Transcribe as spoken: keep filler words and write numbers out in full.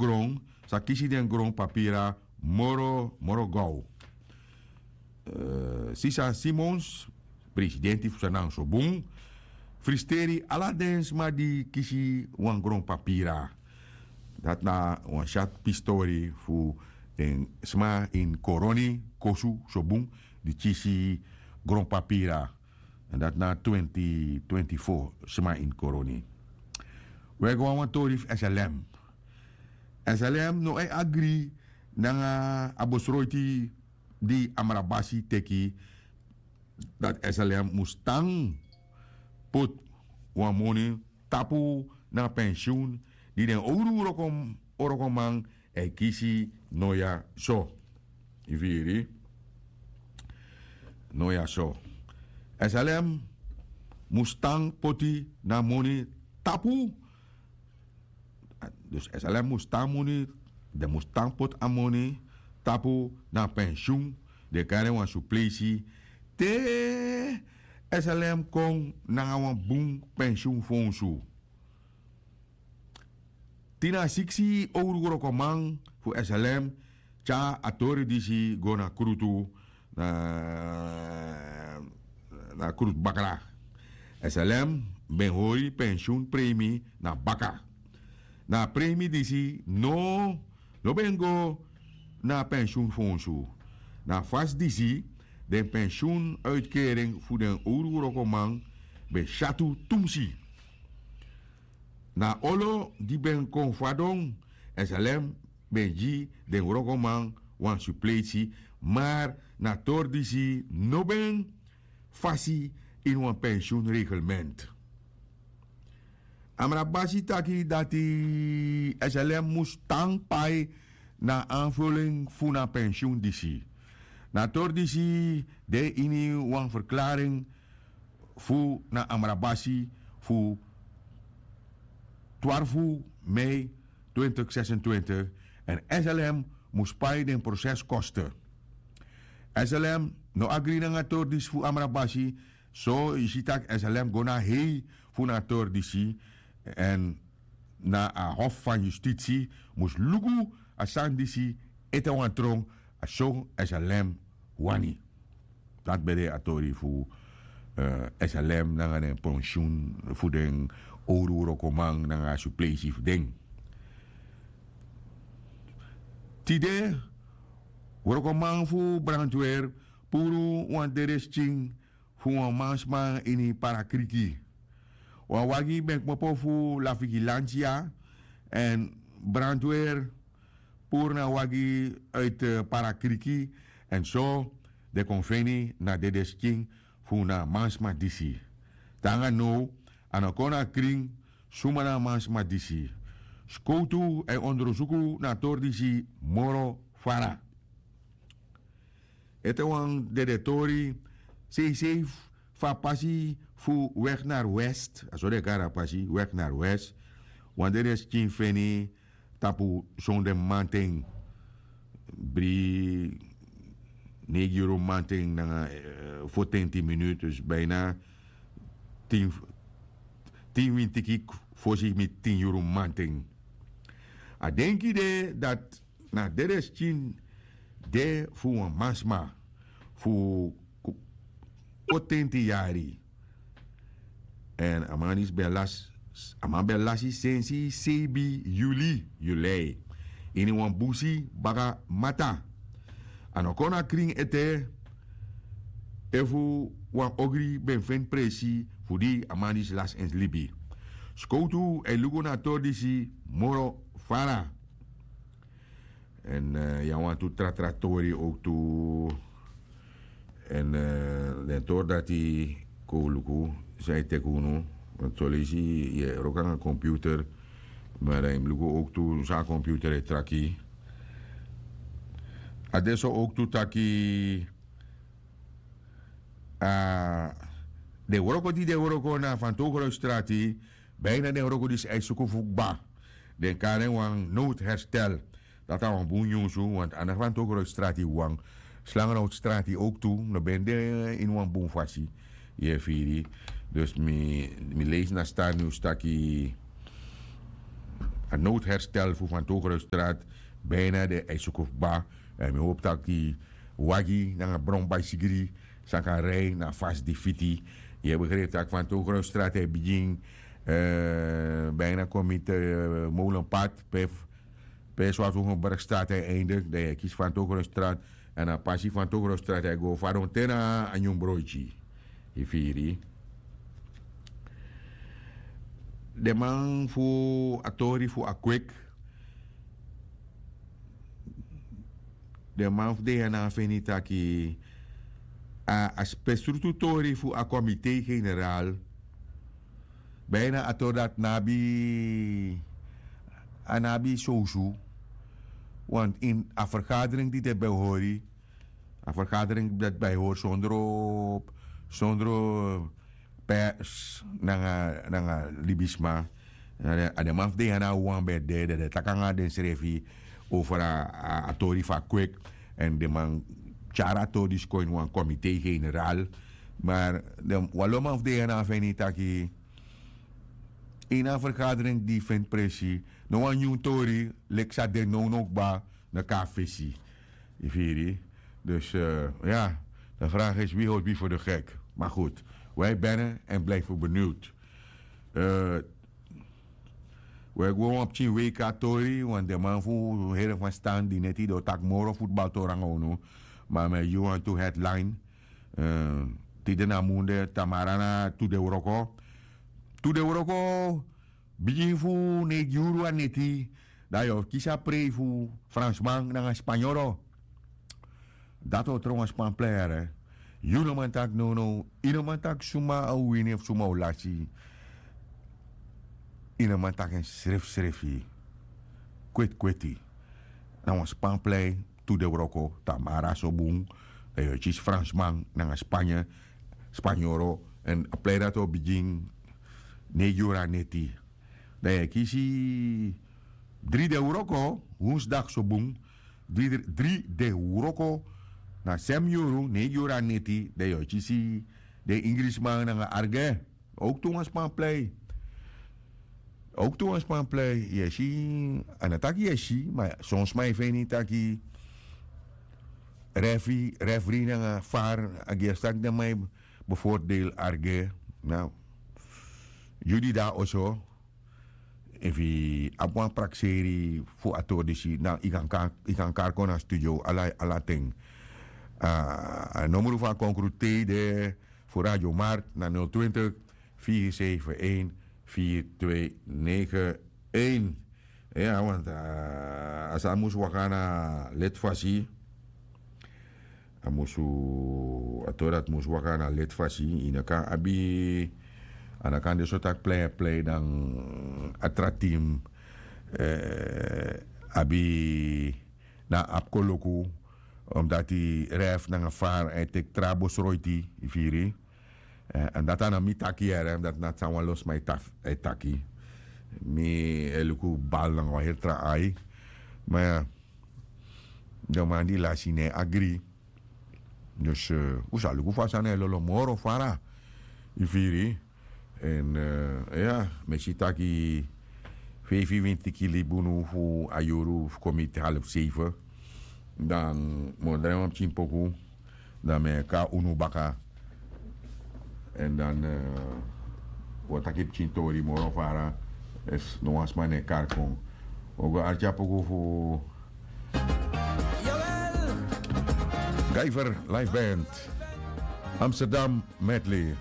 gron sa kisi den gron papira moro moro gow. Sisa simons, presidenti fu sanang sobun, fristeri ala den sma di kisi wan gron papira. Dati na wan syat pistori fu den sma ini koroni kosu sobun di kisi gron papira. Èn dati na twenti twenti fo sma ini koroni. Wi e go na wan tori fu slm. Slm no e agri nanga a besroiti di amrabasi teki, dati slm mus tan poti wan moni tapu na pensiun di den owru wrokoman e kisi. No ya so. Yu firi? No ya so. Slm mus tan poti na moni tapu. Dus slm mus tan moni, den mus tan poti a moni tapu na pensiun. Den kari en wan supleisi te slm kon nanga wan bun pensiun fonsu. Tin na siksi owru wrokoman fu slm tyari a tori disi go na krutu, na krutu bakra. Slm ben hori pensiun premi na baka. Na a premi disi no no ben go na a pensiun fonsu. Na a fasi disi den pensiun uitkering fu den owru wrokoman ben syatu tumsi. Na a olo di ben kon fadon slm ben gi den wrokoman wan supleisi, mar na a tori disi no ben fasi ini wan pensiun reglement. Amrabasi taki dati slm mus tan pai na a anvulin fu na pensiun disi. Na a tori disi de ini wan ferklaring fu na amrabasi fu twarfu mei twintig zesentwintig, èn slm mus pai den proseskoste. Slm no agri nanga a tori disi fu amrabasi. So yu si tak' slm go na a hei fu na a tori disi, èn na a hof fan yustitsi mus luku a sani disi ete wan tron. A so slm wani. Dati ben de a tori fu slm nanga den pensiun fu den owru wrokoman nanga a supleisi fu den. Tide wrokoman fu brantwer puru wan dede skin fu wan mansma ini parakriki. Wan wagi ben kmopo fu la vigilansia èn brantwer puru na wagi uiti parakriki, èn so den kon feni na dede skin fu na mansma disi. Te nanga now a no kon na krin suma na a mansma disi. Skowtu e ondrosuku na a tori disi moro fara. Ete wan dede tori seisei fu a pasi fu weg na west, a so den e kari a pasi weg na west. Wan dede skin feni tapu sonde mamanten, bri neigi yuru mamanten nanga fotenti minutu, dus bina tin winti kik fosi mi tin yuru mamanten. A denki de dati na dede skin de fu wan mansma fu fotenti yari. Èn a man disi ben lasi a man ben lasi sensi seibi yuli yulei ini wan busi baka mata. A no kon na krin ete efu wan ogri ben feni presi fu di a man disi lasi en libi. Skowtu e luku na a tori disi moro fara. Èn yu abi wantu tra tra tori owktu. Èn den tori dati kon un luku san e teki unu. Soleisi yu e wroko nanga computer, ma dan yu mus luku owktu san a computer e traki. A de so owktu taki a den wroko di den wroko na fantogro strati, bina den wroko disi a e suku fu kba. Den kari en wan noodherstel. Dati na wan bun nyunsu, want a no fantogro strati wawan, slangenhout strati owktu no ben de ini wan bun fasi. Yu e firi? Dus mi leisi na star nyunsu taki a noodherstel fu Van Togenstraat bijna de Eisuku Ba. En mi hoop taki wagi nanga bron baisigri san kan rij na fasi di fiti. Yu e begrijp taki Van Togenstraat e bigin, eh, bijna kon miti, eh, Molenpad pe, pe Zwarthogenbergstraat e eindig. Dan yu e kisi Van Togenstraat. En a pasi Van Togenstraat e go fadon te na a nyun broiti. Yu firi. Den man fu a tori fu a kwik, den man fu de ya na a feni taki a, a spesrutu tori fu a komite generaal, bijna a tori dati no abi, a no abi sowsu. Want in a vergadering di den ben hori, a vergadering dati ben hori sondro, sondro pers nanga, nanga libisma. A den man fu de ya na wan ben de, den de taki nanga densrefi over a, a, a tori fu a kwik. En den man tyari a tori disi kon ini wan komite generaal. Maar den wan lo man fu de ya na a feni taki ini a vergadering di feni presi, no wan nyun tori leki san de nownow kba, no kon na fesi. Yu firi. Dus, eh, ya, de vraag is wie houdt wie voor de gek. Maar goed, wij bellen en blijven benieuwd. Eh, we go wan pikin W K tori, want den man fu Heerenveen Stand di neti den o taki moro futbaltori nanga unu. Ma mi e gi wan tu headline. Eh, tide na munde, tamara na tu de wroko. Tu de wroko, bigin fu neigi yuru a neti, dan yu o kisi a prei fu Fransman nanga Spanyoro. Dati o tron wan span plei yere. Yu no man taki nownow, yu no man taki suma o wini efu suma o lasi. Yu no man taki en srefsrefi. Kwetkweti. Na wan span plei, tu de wroko, tamara so bun. Dan yu o kisi Fransman nanga Spanye, Spanyoro, en a plei dati o bigin neigi yuru a neti. Dan yu e kisi dri de wroko, wonsdag so bun. Dri, dri de wroko, na sem yuru, neigi yuru a neti, dan yu o kisi den Ingrisman nanga Arge. Ook tu wan span plei. Ook tu wan span plei. Yu e si, a no taki yu e si, ma son sma e feni taki referee, referee nanga var, a gi a saki den man e bevoordeel Arge. Na, yu di de na oso, efu yu abi wan prakseri fu a tori disi, na yu kan, kan, yu kan kari kon na studio, ala, ala ten. A, a nomru fu a konkru tei de fu Radio Markt na nul twintig, vier zeven een, vier twee negen een. Ya, want, a, a sani mus waka na leti fasi. A musu, a tori dati mus waka na leti fasi. Yu no kan abi, a no kan de so taki plei, plei dan a tra team, eh, abi na abi koloku, omdat yu ref nanga var e teki tra besroiti, yu firi. Eh, en dati a no mi taki yere, dati na san wan lo sma e taki. Mi e luku bal nanga wan heri tra ai. Ma ya, den man di lasi no e agri. Dus, eh, un sa luku fa a sani e lolo moro fara. Yu firi. En, eh, ya, mi e si taki feifi winti tiki libi unu fu a yuru fu kon miti half zeven. Dan mi o drai wan pikin poku. Dan mi e kon na unu baka. En dan, eh, wi o taki pikin tori moro fara. Efu no wan sma no e kari kon. Wi o go arki a poku fu Guyver Live Band, Amsterdam Medley.